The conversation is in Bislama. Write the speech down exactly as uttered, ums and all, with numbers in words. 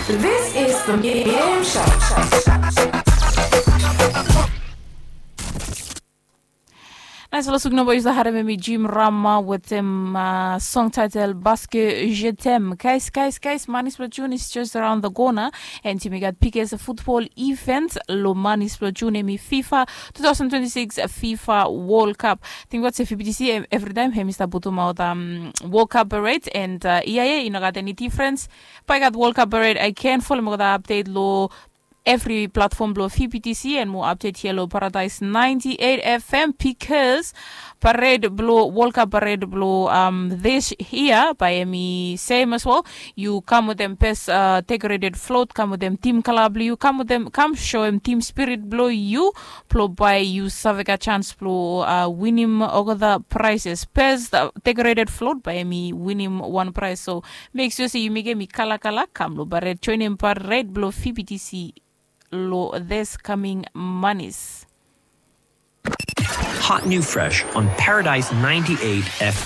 This is the Middle Show. Naes long suk nao bae yu save harem hemi Jim Rama wetem song taetel Baske Jetem. Guys, guys, guys, manis blong Jun is just around the corner. And yumi gat biggest football event long manis blong Jun, hemi FIFA two thousand twenty-six FIFA World Cup. Tingbaot se V B T C evritaem hemi stap putumaot World Cup parade, and ia ya i no gat eni difrens. Bae i gat World Cup parade again. Folem olgeta update long evri platform blong V B T C and moa update hia long Paradise ninety-eight F M, because parade blong World Cup parade blong this year bae hemi same as well. Yu kam wetem best decorated float, kam wetem team kala blong yu, kam wetem, kam soem team spirit blong yu, blong bae yu save gat chance blong winim olgeta prizes. Best decorated float bae hemi winim wan prize. So mek sua se yu mekem i kalakala, kam long parade, joenem parade blong V B T C long this coming manis. Hot new fresh on Paradise ninety-eight F M.